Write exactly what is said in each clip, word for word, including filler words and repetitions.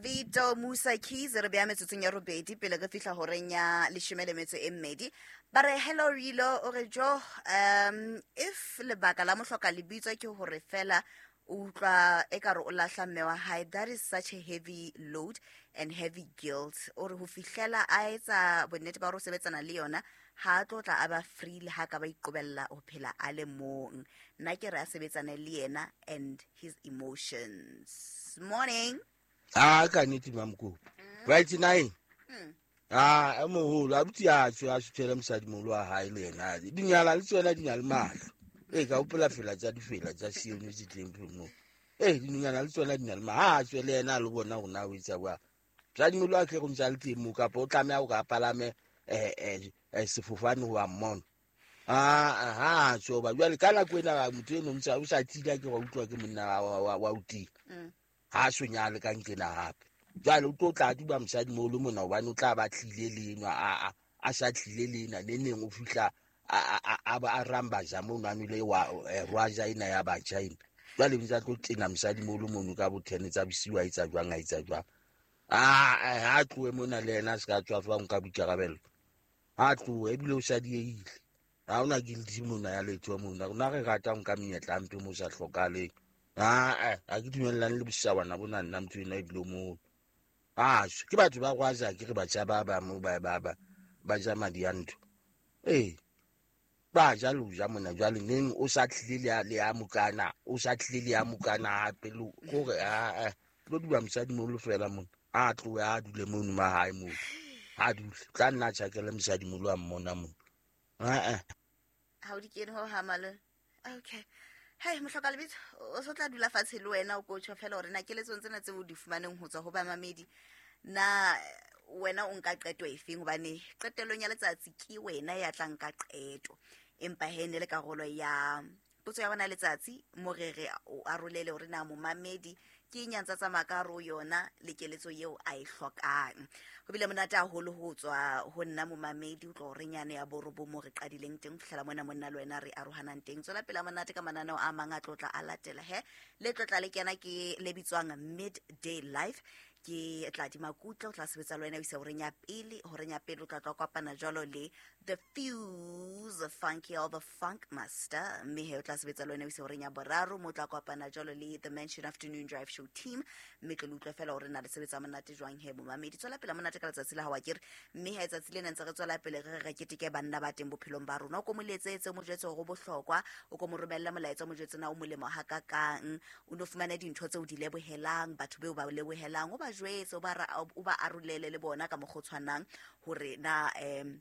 Vito Musa Keys re beya metsotsong ya robedi pele re fihla horeng ya leshome le metso e mmedi. Ba re hello Rilo, o re jo, um if lebaka la mohloka lebitso ke hore fela o utlwa ekare o lahla mme wa hae, that is such a heavy load and heavy guilt. O re ho fihlela a etsa bonnete ba hore o sebetsana le yona, ha a tlo tla a ba free le ha ka ba iqobella ho phela a le mong. Nna ke re a sebetsane le yena and his emotions. Morning. A ka nnete, Mamokopi, right nine. A e moholo abuti a tswe a suthele mosadimolo wa hae le yena. Dinyala le tsona di na le mahlo. Ee, ka hopola fela tsa difela tsa sione tse tleng mo. Ee, dinonyana le tsona di na le mahlo. Ha a tswe le yena a lo bona hore na o etsa jwang. Mosadimolo a tle go ntse a le teng moo, kapa o tlameha hore a palame um sefofane ho wa mmona. Ha a tswe hoba jwale ka nako ena motho eno ntse o sa tila ke wa utlwa ke monna wa o tila. Ha so nyale ka nkena hape. Jwale o tlo tla duba mosadimoholo mona hobane o tla ba tlile le enwa, a a sa tlile le ena ne neng o fihla a ba a rambaja mono a nwele wa rwaja ena ya batjha ena. Jwale ntse a tlo tena mosadimoholo mono ka bo ten tsa bosiu a etsa jwang a etsa jwang. A ha tlohe mona le yena a se ka tswafa ho nka boikarabelo. Ha tlohe ebile o sa diehile. Ha hona guilty mona ya letho mona. Rona re rata ho nka menyetla hampe mo sa hlokahaleng. Ah, ha ke dumellane le bosawana bona nna motho ena ebile o moholo. Ah, ke batho ba rwaja ke re batjha ba ba mo ba ba ba ba ja madi a ntho. Ee, ba ja le ho ja mona jwale neng o sa tlile le le a mokana, o sa tlile le a mokana hape le hore a tlo duba mosadimoholo fela mona. A tlohe a dule mono mahae moo. A dule. Tla nna tjhakele mosadimoholo a mmona mona. Ah, ha o di kene ho ha malome. Okay. Hey, mohloka lebitso, o so tla dula fatshe le wena o ko tjho fela hore na keletsong tsena tseo o di fumaneng ho tswa ho bamamedi, na wena o nka qeto efeng? Hobane qetellong ya letsatsi ke wena ya tla nka qeto. Empa he ne le karolo ya potso ya bona letsatsi mo re re o arolele hore na momamedi ke eng ya ntsa tsamaya ka hare ho yona le keletso eo a e hlokang. Ho bile monate haholo ho tswa ho nna momamedi o tlo re nyane ya borobo mo re qadileng teng ho fihlela mona monna le wena re arohanang teng. Tswela pele monate ka mananeo a mang a tlotla a latela he. Le tlotla le kena ke le bitswang Midday Life. Ke tla di makutla o tla sebetsa le wena o isa horeng ya pele, horeng ya pele o tla tla kopana jwalo le The Fuse Funky or the Funk Master, mme he o tla sebetsa le wena o isa horeng ya boraro mo tla kopana jwalo le The Mansion Afternoon Drive Show Team, mme tlo le utlwa fela hore na le sebetsa monate jwang he momamedi. Tswela pele monate ka letsatsi la hao akere, mme ha letsatsi lena ntse re tswela pele re re keteke banna ba teng bophelong ba rona. O ko mo letsetse, mo jwetse hore o bohlokwa, o ko mo romelle molaetsa, mo jwetse na o molemo hakakang, o no fumane dintho tseo di lebohelang, batho beo ba lebohelang, o ba jwetse, o ba o ba arolele le bona ka mokgwa o tshwanang hore na em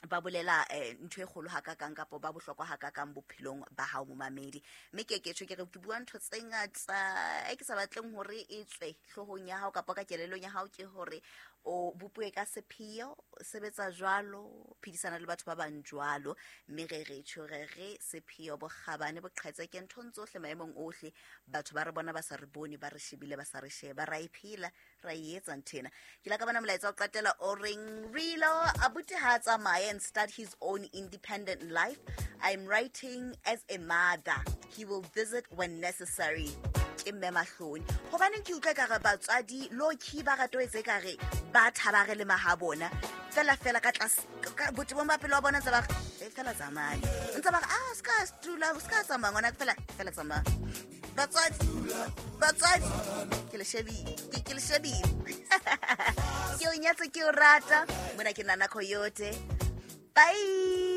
ba bolela ntho e kgolo hakakang kapa ba bohlokwa hakakang bophelong ba hao momamedi. Mme ke ke tjho ke re ke bua ntho tse ngata e ke sa batleng hore e tswe hloohong ya hao kapa ka kelellong ya hao, ke hore o bopuwe ka sepheo, sebetsa jwalo, phedisana le batho ba bang jwalo. Mme re re tjho re re sepheo bokgabane boqhetseke nthong tsohle maemong ohle. Batho ba re bona ba sa re bone, ba re shebile ba sa re sheba, ra e phela, ra e etsa nthena. Ke la ka bona molaetsa wa qetela o reng Rilo abuti ha tsamaye and start his own independent life. I'm writing as a mother. He will visit when necessary. Ke mme mahloni. Hobaneng ke utlwa ekare batswadi low-key ba rata ho etsa ekare ba thaba re le maha bona. Fela fela ka tlase, ka botebong ba pelo wa bona ntse ba re, e fela tsamaya. Ntse ba re, ah, ska dula, ska tsamaya ngwana, fela fela tsamaya. Batswadi, batswadi, ke le shebile, ke, ke le shebile. Ke o nyatse, ke o rata. Mona ke Nana Coyote. Bye.